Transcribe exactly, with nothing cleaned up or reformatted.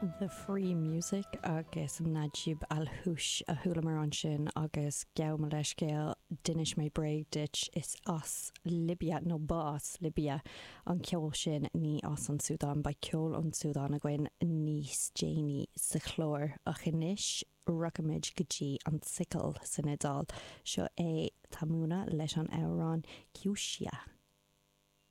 The Free Music agus Najib Alhoush a chualamar ansin agus gabh mo leithscéal d'inis mé bréag duit is as Libia nó ba as Libia an ceol sin ní as an Súdán beidh ceol ón Súdán againn níos déanaí sa chlár ach anois rachaimid go dtí an tSicil san Iodáil seo é Tamuna leis an amhrán Chiuscia.